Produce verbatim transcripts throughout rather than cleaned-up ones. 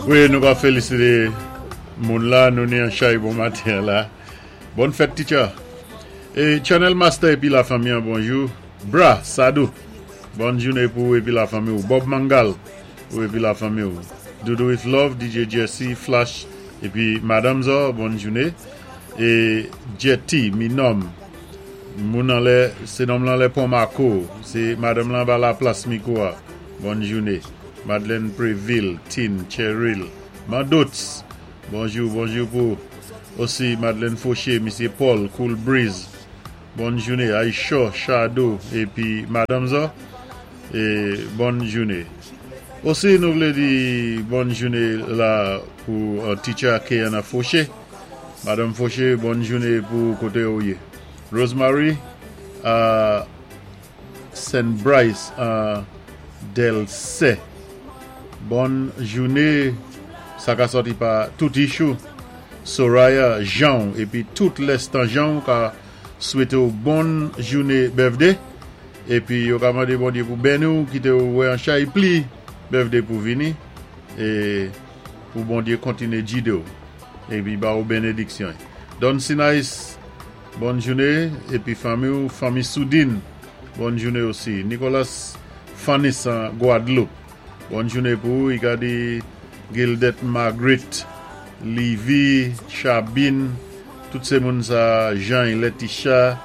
Wi, nou va félisité moun la, nou ni an chay bon maten la. Bòn fèt, teacher. É Channel Master épi la fanmi, bonjou. Bra, Sadou. Bòn jounen pou épi la fanmi. Bob Mangal, ou épi la fanmi. Doudou with Love, D J Jesse, Flash, épi Madame Zor, bòn jounen. É Jetty, Minom, moun anlè, sé nonm lan lè Pon Marco, sé Madanm lan ba la plas Miko. Bòn jounen. Madeleine Préville, Tin, Cheryl, Mandots, bonjou, bonjou pou osi Madeleine Fauché, Misyé Paul, Cool Breeze, bòn jounen, Aisha, Shadow, épi Madame Zor, é bòn jounen. Osi nou vlé di bòn jounen la pou uh, teacher Keana Fauché. Madame Fauché, bòn jounen pou koté ou yé. Rosemary, uh, Saint Bryce, uh, Delce. Bòn jounen, sa ka sòti pa tout Ichou, Soraya, Jean, épi tout lèstan Jean ka swété ou bòn jounen birthday. Épi yo ka mandé Bondyé pou béni ou, kité ou wè an chay pli birthday pou vini é pou Bondyé kontiné gidé ou épi ba ou bénédiksyon. Don Sinais, bòn jounen épi fanmi ou fanmi Soudine, bòn jounen osi. Nicolas Fanis an Guadeloupe. Bòn jounen pou ou, i di Gildet Margaret, Livy, Chabine, tout sé moun sa, Jean, Letitia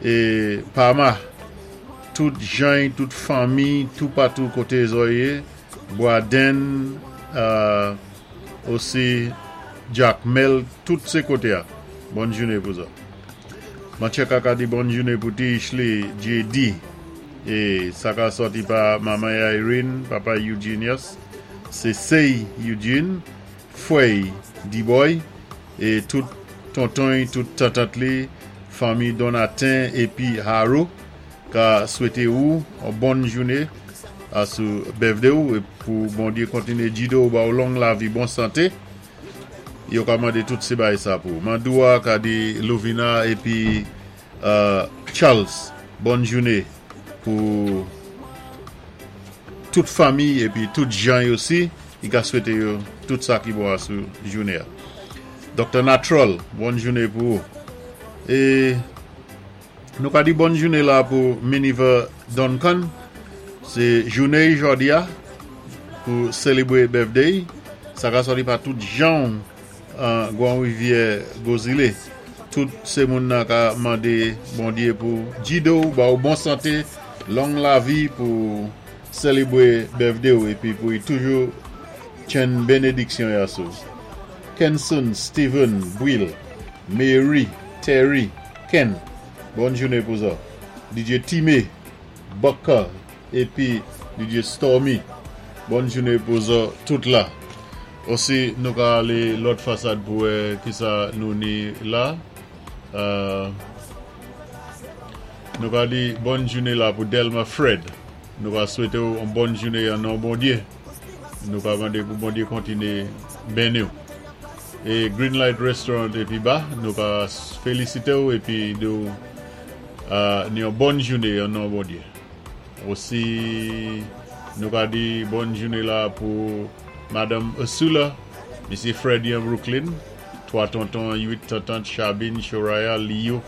é Pama, tout Jean, tout fanmi, tout patou koté zò yé, Boaden, euh, osi Jack Mel, tout sé koté a. Bòn jounen pou zò. Mancheka ka di bòn jounen pou ti Ishley J D. É sa ka sòti pa manman Irene, papa Eugenius, sé Sey Eugene, Fouey D-Boy, é tout tonton, tout tantant li, fanmi Donatin épi Haro, ka swété ou yon bòn jounen asou birthday ou é pou Bondyé kontiné gidé ou ba ou long lavi, bon santé. Yo ka mandé tout sé bay sa pou. Mandoua ka di Lovina épi euh, Charles, bòn jounen pou tout fanmi épi tout Jean osi, i ka swété yo tout sa ki bon asou jounen. Docteur Natural, bòn jounen pou ou. É nou ka di bòn jounen la pou Miniver Duncan. Sé jounen jòdi a pou sélébwé birthday. Sa ka sòti pa tout Jean an Gwan Rivyè Gozile. Tout sé moun nan ka mandé Bondyé pou gidé ou ba ou bon santé, long lavi pou sélébwé birthday ou épi pou y toujou tjenn bénédiksyon ya sou. Kenson, Steven, Will, Mary, Terry, Ken, bòn jounen pou zò. D J Time, Bucker, épi D J Stormy, bòn jounen pou zò tout la. Osi nou ka alé lòt fasad pou wè ki sa nou ni la. Euh, nou ka di bòn jounen la pou Delma Fred. Nou ka swété ou yon bòn jounen an non Bondyé. Nou ka mandé pou Bondyé kontiné béni ou. É Greenlight Restaurant épi ba, nou ka félisité ou épi di ou euh, ni yon bòn jounen an non Bondyé. Osi nou ka di bòn jounen la pou Madame Ursula, Misyé Freddy an Brooklyn, twa tonton, uit tantant, Chabine, Shoraya, Leo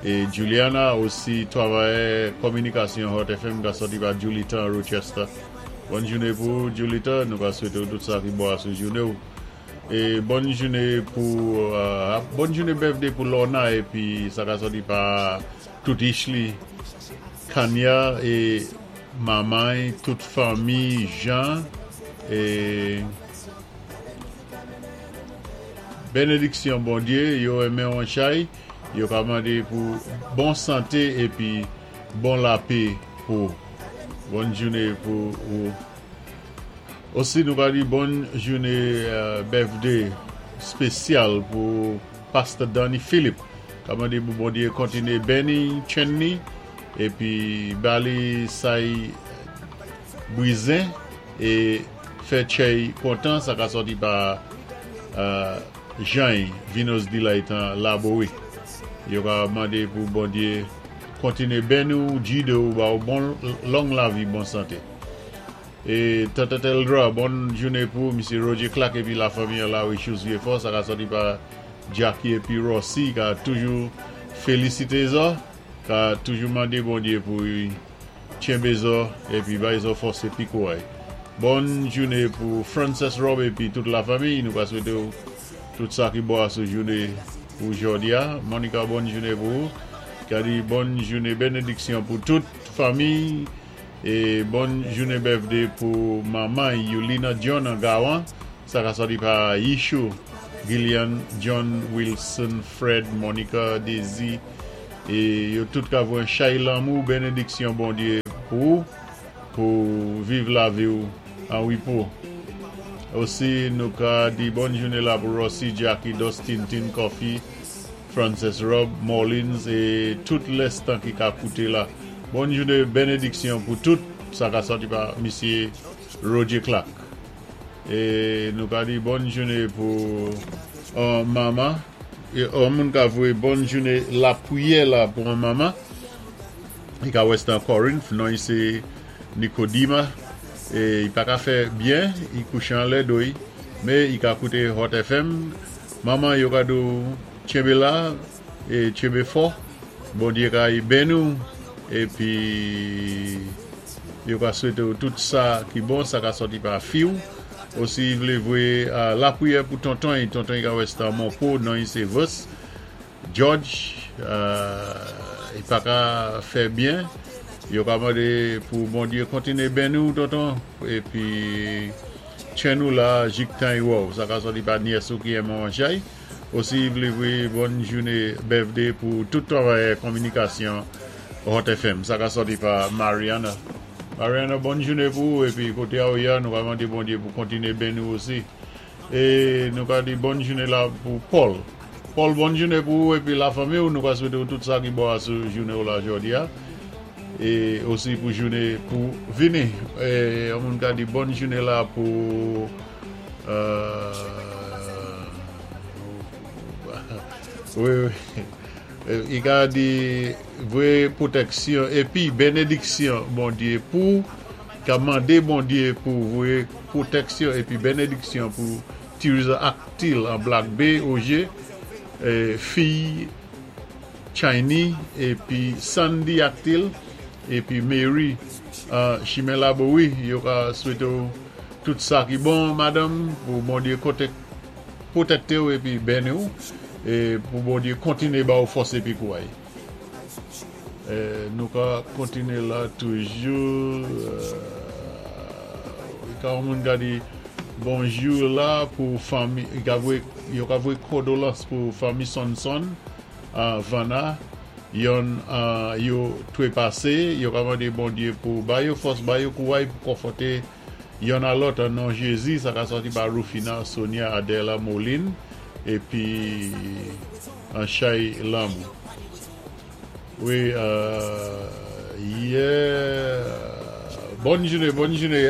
é Juliana, osi travayè kominikasyon Hot F M ka sòti pa Julita an Rochester. Bòn jounen pou Julita, nou ka swété ou tout sa ki bon asou jounen ou. É bòn jounen pou euh, bòn jounen birthday pou Lorna épi sa ka sòti pa tout Ishley, Kanya é manman, tout fanmi Jean é bénédiksyon Bondyé, yo renmen an chay, yo ka mandé pou bon santé épi bon lapè pou bòn jounen pou ou. Osi nou ka di bòn jounen euh, birthday spésyal pou Pastor Danny Philip. Ka mandé pou Bondyé kontiné béni tjenn ni épi bali say bwizin é fè tchay kontan, sa ka sòti pa euh, Jean Vinos Delight an Laboe. Yo ka mandé pou Bondyé kontiné béni ou, gidé ou, ba ou bon long lavi, bon santé. É Tante Eldra, bòn jouné pou Misyé Roger Clark épi la fanmi la Richus Vieux-Fort, sa ka sòti pa Jackie épi Rossi ka toujou félisité zo, ka toujou mandé Bondyé pou tjenbé zo épi bay zo fòs épi kouray. Bòn jouné pou Frances Rob épi tout la fanmi, nou ka swété tout sa ki bon asou jouné pou jòdi a. Monica, bòn jouné pou ou. Ka di bòn jouné bénédiksyon pou tout fanmi é bòn jouné birthday pou manman Yulina John an Gawan. Sa ka sòti pa Yishu, Gillian, John, Wilson, Fred, Monica, Daisy é yo tout ka voyé chay lanmou bénédiksyon Bondyé pou pou viv lavi ou an wépo. Osi nou ka di bòn jouné la pou Rossi, Jackie, Dustin, Tin Coffee, Frances Rob, Morlins é tout lèstan ki ka kouté la. Bòn jouné bénédiksyon pou tout sa ka sòti pa Misyé Roger Clark. É nou ka di bòn jouné pou euh, manman. É yon moun ka voyé bòn jouné lapriyè la pou yon manman. I ka Western Corinth, non sé Nicodima. É i pa ka fè byen, i kouché anlè do mé i ka kouté Hot F M. Manman yo ka di tjenbé la é tjenbé fò. Bondyé ka béni ou épi yo ka swété tout sa ki bon, sa ka sòti pa fi ou. Osi vlé voyé uh, lapriyè pou tonton, tonton ka Western Monpo, non sé Vos. George, euh, i pa ka fè byen. Yo ka mandé pou Bondyé kontiné béni ou tonton épi tjen nou la jiktan i wè ou. Sa ka sòti pa nyès ou ki renmen chay. Osi vlé voyé bòn jouné birthday pou tout travayè kominikasyon Hot F M. Sa ka sòti pa Mariana. Mariana, bòn jouné pou ou épi koté a ou ya, nou va mandé Bondyé pou kontiné béni ou osi. É nou ka di bòn jouné la pou Paul. Paul, bòn jouné pou ou épi la fanmi ou, nou ka swété tout sa ki bon asou jouné ou la jòdi a. É osi pou jouné pou vini. É yon ka di bòn jouné la pou euh, wi, wi. I ka di voyé pwotèksyon épi bénédiksyon Bondyé pou ka mandé Bondyé pou voyé pwotèksyon épi bénédiksyon pou Tirza Actil an Black Bay O G fi Chini épi Sandy Actil épi Mary uh, Chimen Laboui. Yo ka swété tout sa ki bon, madanm, pou Bondyé koté pwotékté ou épi béni ou é pou Bondyé kontiné ba ou fòs épi kouray. Nou ka kontiné la toujou. Ka moun ka di bonjou la pou fanmi, yo ka voyé kondolans pou fanmi Sonson Vana yon yo twépasé. Yo ka mandé Bondyé pou ba yo fòs, ba yo kouray pou konfòté yonn a lòt an non Jézi. Sa ka sòti pa Rufina, Sonia, Adela, Moline épi an chay lanmou. Wi, yeah. Bòn jouné, bòn jouné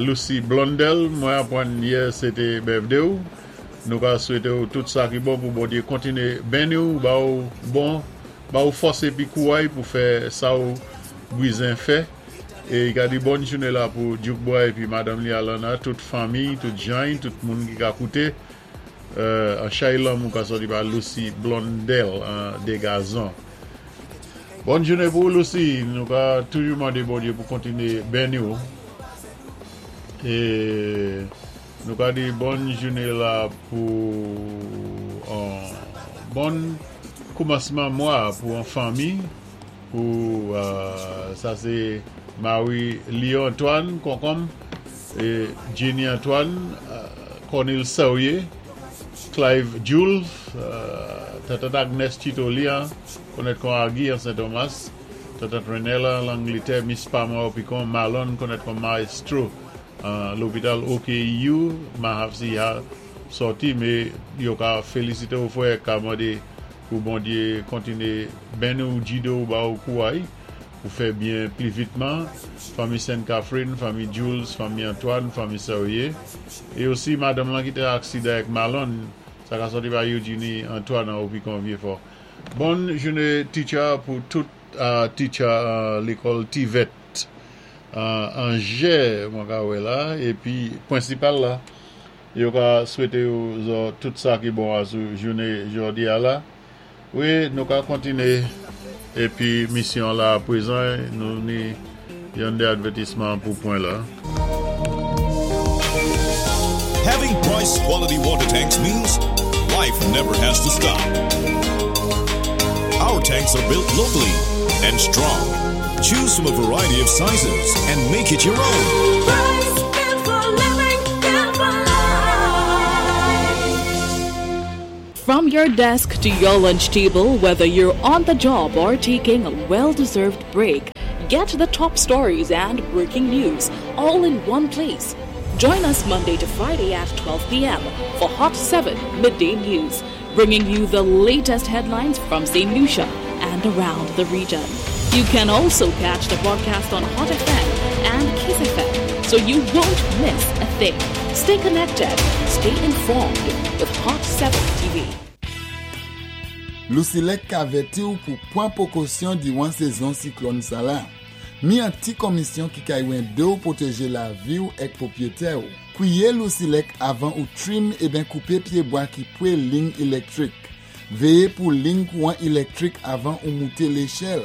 Lucy Blondel. Mwen apwann yè sé té birthday ou. Nou ka swété ou tout sa ki bon pou Bondyé kontiné béni ou, ba ou bon, ba ou fòs épi kouray pou fè sa ou bizwen fè. É ka di bòn jouné la pou Duke Boy épi madanm li Alana, tout fanmi, tout jan, tout moun ki ka kouté. An chay lanmou ka sòti pa Lucy Blondel de Gazon. Bòn jouné pou Lucy, nou ka toujou mandé Bondyé pou kontiné béni ou. É nou ka di bòn jouné la pou bon koumansman mwa pou an fanmi pou sa sé Marie Léon Antoine Konkom é Jenny Antoine, Cornel Saurier, Clive Jules, Tata Agnes Chitolia, konèt kon Agui an Saint-Thomas, Tata Renella l'Angleterre, Miss Pama Opicon, Marlon konèt kon Maestro lopital O K U, Mahavsi ha sòti, mé yo ka félisité ou fwè ka mandé pou Bondyé kontiné béni ou jidé ou ba ou kouray pou fè byen pli vitman. Fanmi Sainte Catherine, fanmi Jules, fanmi Antoine, fanmi Saurier é osi madanm lan ki té aksidan ak Malon, sa ka sòti pa Eugenie Antoine an Opicon Vieux-Fort. Bòn jouné, teacher, pou tout teacher lékòl T V E T. Anje mwen ka wè la, épi pwensipal la, yo ka swété ou zo tout sa ki bon asou jouné jòdi a la. Wi, nou ka kontiné épi misyon la pwézan, nou ni yon dé advètisman pou pwen la. Having Price quality water tanks means life never has to stop. Our tanks are built locally and strong. Choose from a variety of sizes and make it your own. Price, built for living, built for life. From your desk to your lunch table, whether you're on the job or taking a well deserved break, get the top stories and breaking news all in one place. Join us Monday to Friday at twelve p m for Hot seven Midday News, bringing you the latest headlines from Saint Lucia and around the region. You can also catch the broadcast on Hot F M and Kiss F M, so you won't miss a thing. Stay connected, stay informed with Hot seven T V. Lusilek ka avèti ou pou pwan pwékosyon diwan sézon siklòn sa la. Mi an ti komisyon ki ka édé ou pwótéjé lavi ou èk pwopwété ou. Kwiyé Lusilek avan ou trim eben koupé pyébwa ki pwé lign élektwik. Véyé pou lign kouwan élektwik avan ou mouté léchèl.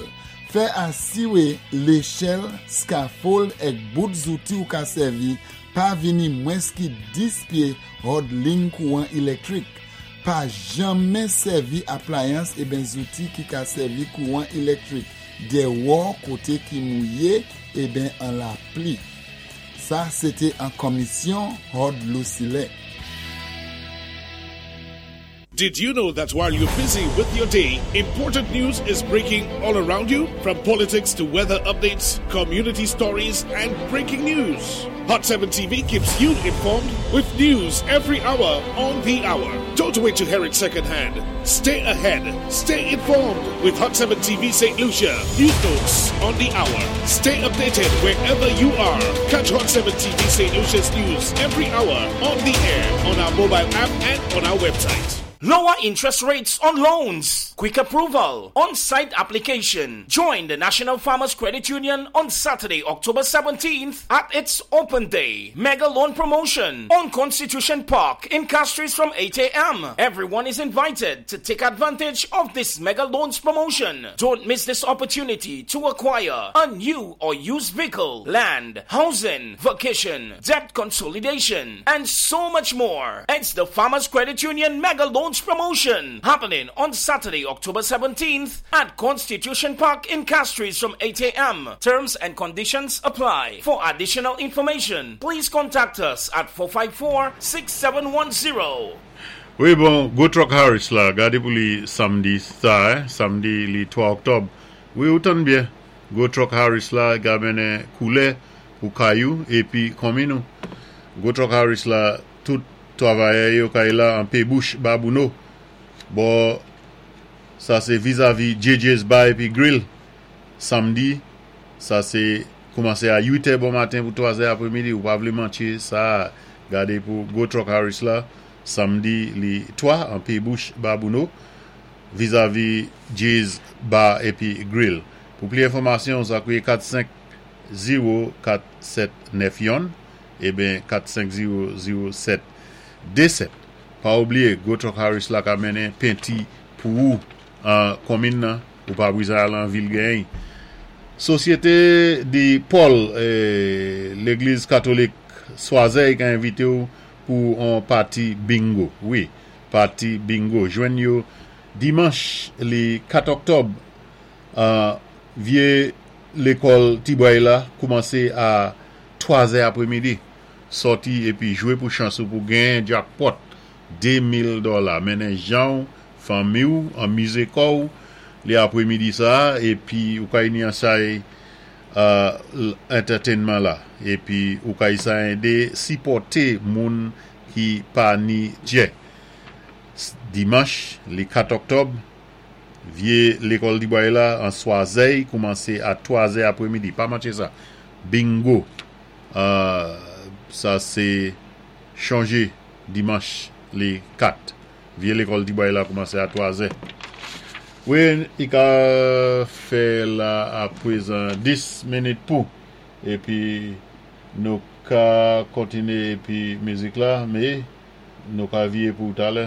Fè asiwé léchèl, scaffold èk bout zouti ou ka sèvi pa vini mwens ki dis pyé hòd lign kouwan élektwik. Pa janmen sèvi aplayans eben zouti ki ka sèvi kouwan élektwik déwò koté ki mouyé eben an lapli. Sa, sété an komisyon hòd Lusilek. Did you know that while you're busy with your day, important news is breaking all around you? From politics to weather updates, community stories, and breaking news. Hot seven T V keeps you informed with news every hour on the hour. Don't wait to hear it secondhand. Stay ahead. Stay informed with Hot seven T V Saint Lucia. News notes on the hour. Stay updated wherever you are. Catch Hot seven T V Saint Lucia's news every hour on the air, on our mobile app, and on our website. Lower interest rates on loans, quick approval, on-site application. Join the National Farmers Credit Union on Saturday, October seventeenth at its Open Day Mega Loan Promotion on Constitution Park in Castries from eight a m. Everyone is invited to take advantage of this Mega Loans promotion. Don't miss this opportunity to acquire a new or used vehicle, land, housing, vacation, debt consolidation, and so much more. It's the Farmers Credit Union Mega Loans Promotion happening on Saturday, October seventeenth at Constitution Park in Castries from eight a m. Terms and conditions apply. For additional information, please contact us at four five four, six seven one zero. Wi, bon, Go Truck Harris la, gadé pou li samdi sa, eh, samdi li twa òktòb. Wi, ou tann byen. Go Truck Harris la, ka mennen koulè pou kay ou, épi konmin nou. Go Truck Harris la, tout twavayè yo kay la an Pébouch Babouno. Bon, sa sé vizavi J J's Bar épi Grill. Samdi, sa sé koumansé a uit è bon maten pou twa zè apwémidi. Ou pa vlé manké sa, gadé pou Go Truck Harris la, samdi li twa an Pébouch Babouno, vizavi J's Bar épi Grill. Pou pli enfòmasyon, sa kouwé kat senk zewo kat sèt nèf yon, eben kat senk zewo zewo sèt dé sèt. Pa oubliyé, Go Truck Harris la ka mennen penti pou ou an konmin nan, ou pa bizwen al an vil genyen. Sosyété di Paul, eh, Légliz Katolik Swazey ka envité ou pou an pati bingo. Wi, pati bingo. Jwenn yo dimanch li kat òktòb uh, vyé lékòl Tibway la koumansé a twa zè apwémidi. Sòti épi jwé pou chans ou pou genyen jackpot de mil dola. Mennen jan, fanmi ou, anmizé kò ou, li apwémidi sa, épi ou ka ni an say uh, entertainment la. Épi ou ka sa édé sipòté moun ki pa ni djè. Dimanch, li kat òktòb, vyé lékòl Tibway la an Swazey, koumansé a twa zè apwémidi. Pa manké sa. Bingo. Uh, sa sé chanjé dimanch li kat. Vyé lékòl Tibway la koumansé a twa zè. Wi, i ka fè la a pwézan dis minit pou Épi nou ka kontiné épi mizik la, mé nou ka viyé pou talè.